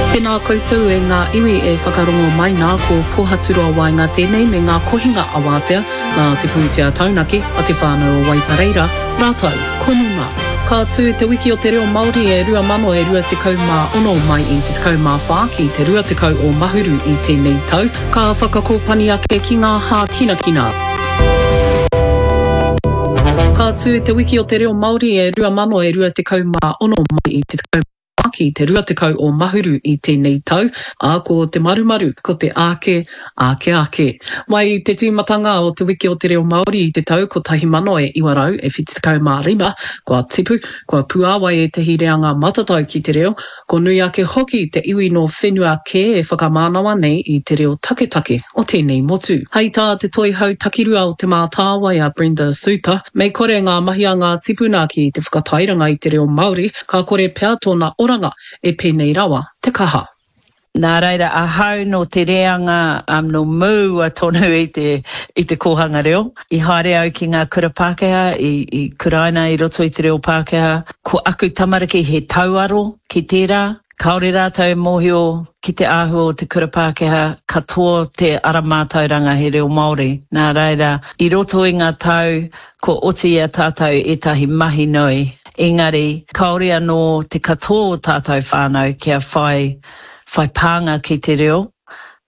Tēnā koutou e ngā iwi e whakarongo mai nā, ko Pohaturoa Waenga tēnei me ngā kohinga awātea nā te pūtea taunaki a te whānau o Waipareira, rātou ko Numa. Ka tū te wiki o te reo Māori e 2026 mai i te 14 ki te 20 o Mahuru i tēnei tau, ka whakakōpani ake ki ngā hākinakina. Ka tū te wiki o te reo Māori e 2026 mai i te 14 ki te 20 o Mahuru i tēnei tau, ā, ko te marumaru, ko te āke, āke ake. Mai i te tīmatanga o te Wiki o te Reo Māori i te tau 1975, kua tipu, kua puāwai ētehi reanga matatau ki te reo, ko nui ake hoki te iwi nō whenua kē e whakamānawa nei i te reo taketake o tēnei motu. Hei tā te Toihau Takirua o Te Mātāwai a Brenda Suter, mei kore ngā mahi a ngā tipuna ki te whakatairanga i te reo Māori, Ka kore pea tōna oranga e pēnei rawa te kaha. Nā reira, ahau nō te reanga nō mua tonu i te, i te kōhanga reo. I haere au ki ngā kura Pākehā, i, i kuraina i roto i te reo Pākehā. Ko aku tamariki he tauaro ki tērā. Kāore rātou e mōhio ki te āhua o te kura Pākehā, katoa te ara mātauranga he reo Māori. Nā reira, i roto i ngā tau, kua oti i a tātou ētahi mahi nui, engari kāore anō te katoa o tātou whānau kia whai, whai pānga ki te reo.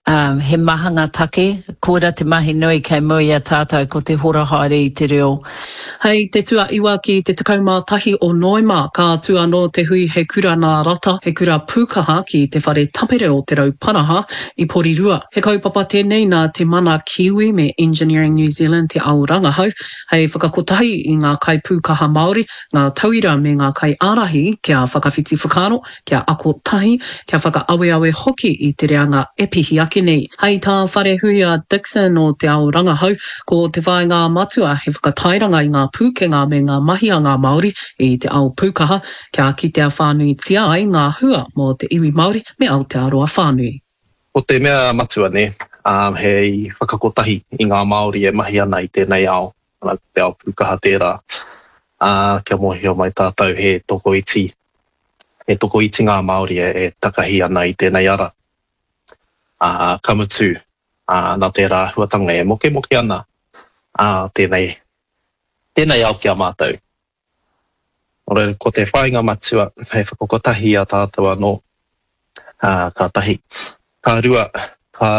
Ā, he maha ngā take, koira te mahi nui kei mua i a tātou ko te hora haere i te reo. Hei te tuaiwa ki te 11 o Noema, ka tū anō te hui He Kura Nā Rata, He Kura Pūkaha ki Te Whare Tapere o Te Rauparaha i Porirua. He kaupapa tēnei nā Te Mana Kiwi me Engineering New Zealand Te Ao Rangahau hei whakakotahi i ngā kaipūkaha Māori, ngā tauira me ngā kaiārahi kia whakawhiti whakaaro, kia ako tahi, kia whakaaweawe hoki i te reanga e pihi ake nei. Hei tā Wharehuia Dixon o Te Ao Rangahau, ko te whāinga matua he whakatairanga i ngā pūkenga me ngā mahi a ngā Māori i te ao pūkaha, kia kitea whānuitia ai ngā hua mō te iwi Māori me Aotearoa whānui. Ko te mea matua nē, he whakakotahi i ngā Māori e mahi ana i tēnei ao, ko te ao pūkaha tērā, ā, kia mōhio mai tātou he tokoiti, he tokoiti ngā Māori e takahi ana i tēnei ara. Ā, ka mutu, ā, nā tērā āhuatanga e mokemoke ana, ā, tēnei, tēnei ao ki a mātou. Nō reira, ko te whāinga matua hei whakakotahi i a tātou anō, ā, ka tahi. Ka rua, ka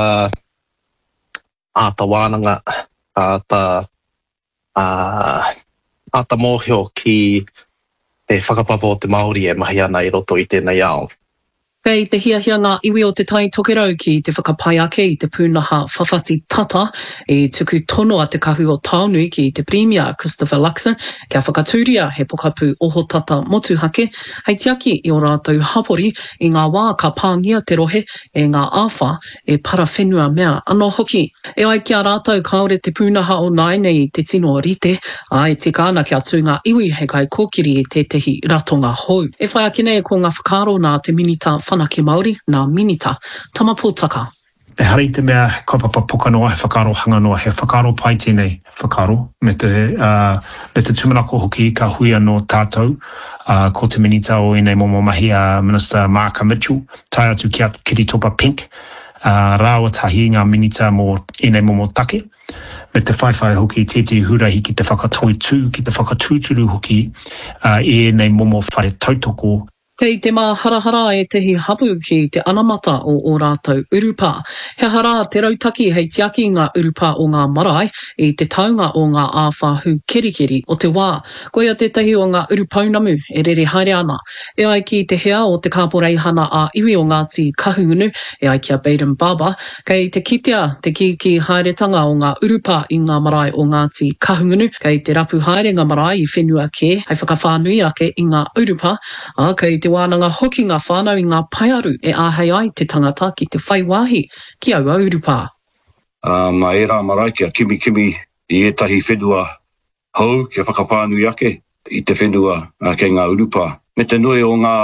āta wānanga, ka āta, ā, āta mōhio ki te whakapapa o te Māori e mahi ana i roto i tēnei ao. Kei te hiahia ngā iwi o Te Tai Tokerau ki te whakapai ake i te pūnaha whawhati tata i tuku tono a Te Kahu o Taonui ki te Pirimia Christopher Luxon kia whakatūria he pokapū ohotata motuhake hei tiaki i ō rātou hapori i ngā wā ka pāngia te rohe e ngā āwhā e parawhenua mea anō hoki. E ai ki a rātou kāore te pūnaha o nāianei i te tino rite, ā, e tika ana kia tū ngā iwi hei kaikōkiri i tētehi ratonga hou. E whai ake nei ko ngā whakaaro nā te Minita Whanake Māori, nā Minita Tama Potaka. Ehara i te mea he kaupapa poka noa, he whakaaro hanga noa, he whakaaro pai tēnei whakaaro, me te, me te tūmanako hoki ka hui anō tātou, ko te Minita o ēnei momo mahi a Minister Maaka Mitchell, tae atu ki a Kiritopa Pink, ā, rāua tahi ngā minita mō ēnei momo take, me te whaiwhai hoki i tētehi huarahi ki te whakatoitū, ki te whakatūturu hoki i ēnei momo whare tautoko. Kei te māharahara ētehi hapū ki te anamata o ō rātou urupā. He aha rā te rautaki hei tiaki i ngā urupā o ngā marae i te taunga o ngā āwhā hūkerikeri o te wā? Koia tētahi o ngā urupounamu e rere haere ana. E ai ki te hea o te Kāporeihana ā-Iwi o Ngāti Kahungunu, e ai ki a Baden Barber, kei te kitea te kīkī haeretanga o ngā urupā i ngā marae o Ngāti Kahungunu, kei te rapu haere ngā marae i whenua kē hei whakawhānui ake i ngā urupā, ā, kei te wānanga hoki ngā whānau i ngā paearu e āhei ai te tangata ki te whai wāhi ki aua urupā. Ā, mā ērā marae kia kimikimi i ētahi whenua hou kia whakawhānui ake i te whenua kei ngā urupā. Me te nui o ngā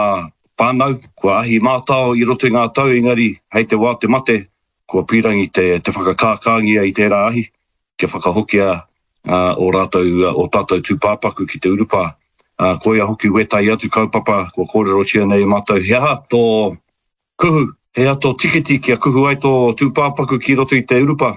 whānau kua ahi mātao i roto i ngā tau engari hei te wā te mate kua pīrangi te te whakakākāngia i tērā ahi kia whakahokia ō rātou ō tātou tūpāpaku ki te urupā. Koia hoki wētahi atu kaupapa kua kōrerotia nei e mātou he aha tō. Kuhu, he aha tō tiketi kia kuhu ai tō tūpāpaku ki roto i te urupā?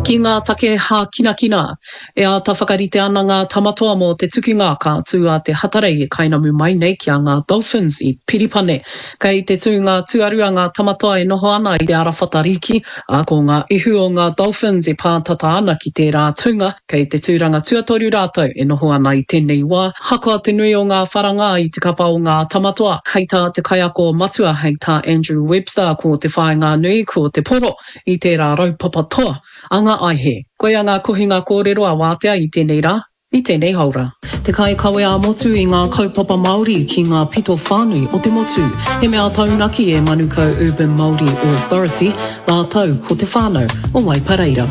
Ki ngā take hākinakina, e āta whakarite ana ngā Tamatoa mō te tukinga ka tū a Te Hatarei e kainamu mai nei ki a ngā Dolphins i Piripane. Kei te tūnga tuarua ngā Tamatoa e noho ana i te arawhata rīki, ā, ko ngā ihu o ngā Dolphins e pātata ana ki tērā tūnga. Kei te tūranga tuatoru rātou e noho ana i tēnei wā, hakoa te nui o ngā wharanga i te kapa o ngā Tamatoa. Hei tā te kaiako matua, hei tā Andrew Webster, ko te whāinga nui, ko te poro i tērā raupapa toa a ngā aihe. Koia ngā kohinga kōrero a Wātea i tēnei rā, i tēnei haora. Te kaikawe ā-motu i ngā kaupapa Māori ki ngā pito whānui o te motu. He mea taunaki e Manukau Urban Māori Authority, rātou ko te whānau o Waipareira.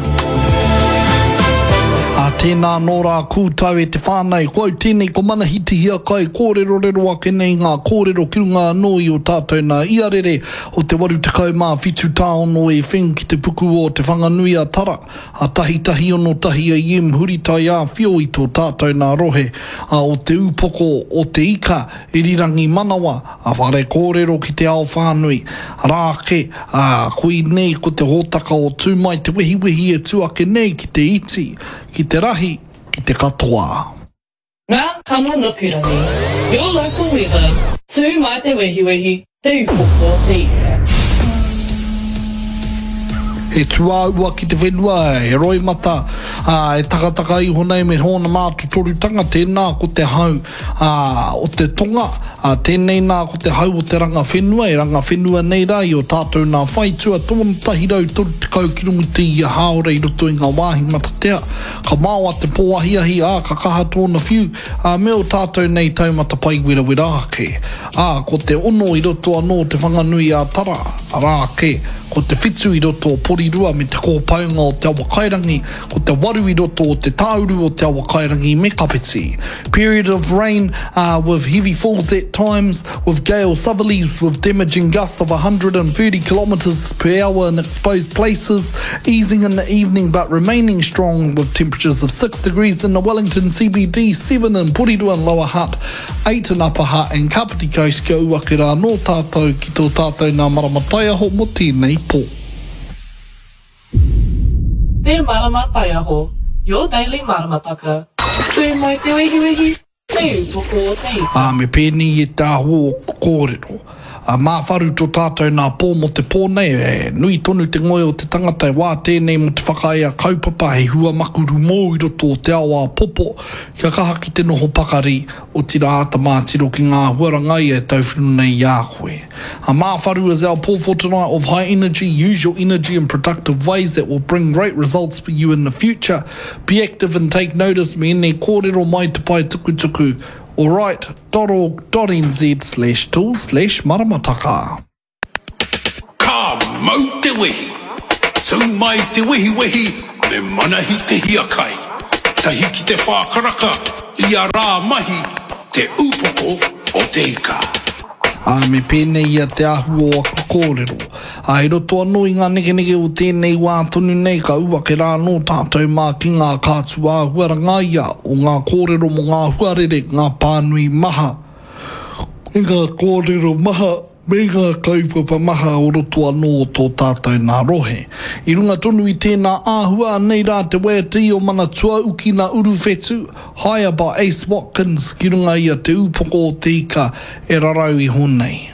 Ā, tēnā anō rā koutou e te whānau, ko au tēnei ko Manahi Te Hiakai, kōrerorero ake nei ngā kōrero ki runga anō i ō tātou nā iarere o te 87 tāono e wheng ki te puku o Te Whanganui-a-Tara. A tahitahi ono tahi AM huri taiāwhio i tō tātou nā rohe, a o Te Ūpoko o Te Ika, Irirangi Manawa, a Whare Kōrero ki te ao whānui. Rā ake, ā, koinei ko te hōtaka o Tū Mai Te Wehiwehi e tū ake nei ki te iti, ki te rahi, ki te katoa. Ngā kano nukurangi, Your local weather, Tū mai te wehiwehi, Te upoko o te ika. He tūāua ki te whenua, he roimata, ā, e takataka iho nei me hōna mātotorutanga, tēnā ko te hau, ā, o te tonga, ā, tēnei nā ko te hau o te ranga whenua, e ranga whenua nei rā i ō tātou nā whaitua, 130 kiromita ia hāora i roto i ngā wāhi matatea. Ka maoa te pō ahiahi, ā, ka kaha tōna whiu, ā, me ō tātou nei taumata pai werawera ake. Ā, ko te ono i roto anō o Te Whanganui-ā-Tara, arā ake, ko te whitu i roto o Porirua me te kōpaunga o Te Awakairangi, ko te waru i roto o Te Tāuru o Te Awakairangi me Kapiti. Period of rain, ā, with heavy falls at times, with gale southerlies with damaging gusts of 130 kilometres per hour in exposed places, easing in the evening but remaining strong with temperatures of 6 degrees in the Wellington CBD, 7 in Porirua and Lower Hutt, 8 in Upper Hutt and Kapiti Coast kia ū ake rā anō tātou ki tō tātou nā marama taiaho mō tēnei pō. Te Marama Taiaho, your daily maramataka. Tū mai te wehiwehi, Te upoko o te ika. Ā, me pēnei e te āhua o aku kōrero. Ā, māwharu tō tātou nā pō mō te pō nei, e nui tonu te ngoi o te tangata e wā tēnei mō te whakaea kaupapa hei hua makuru mōu i roto o te ao āpopo, kia kaha ki te noho pakari, otirā āta mātiro ki ngā āhuaranga ia e tauwhiro nei i a koe. A māwharu is our pō for tonight of high energy, use your energy in productive ways that will bring great results for you in the future. Be active and take notice me ēnei kōrero mai te pae tukutuku alright dot org dot nz slash tool slash maramataka. Ka mau te wehi! Tū mai te wehiwehi me Manahi Te Hiakai. Tahi ki te whā karaka ia rā mahi Te Upoko o Te Ika. Ā, me pēnei ia te āhua o aku kōrero. Ā, i roto anō i ngā nekeneke o tēnei wā tonu nei, ka ū ake rā anō tātou mā ki ngā kātū āhuaranga ia o ngā kōrero mō ngā huarere, ngā pānui maha, me ngā kōrero maha, me ngā kaupapa maha o roto anō o tō tātou nā rohe. I runga tonu i tēnā āhua, anei rā te waiata i o Mana Tuauki nā Uruwhetu, Higher by Ace Watkins ki runga i a Te Ūpoko o Te Ika e rarau iho nei.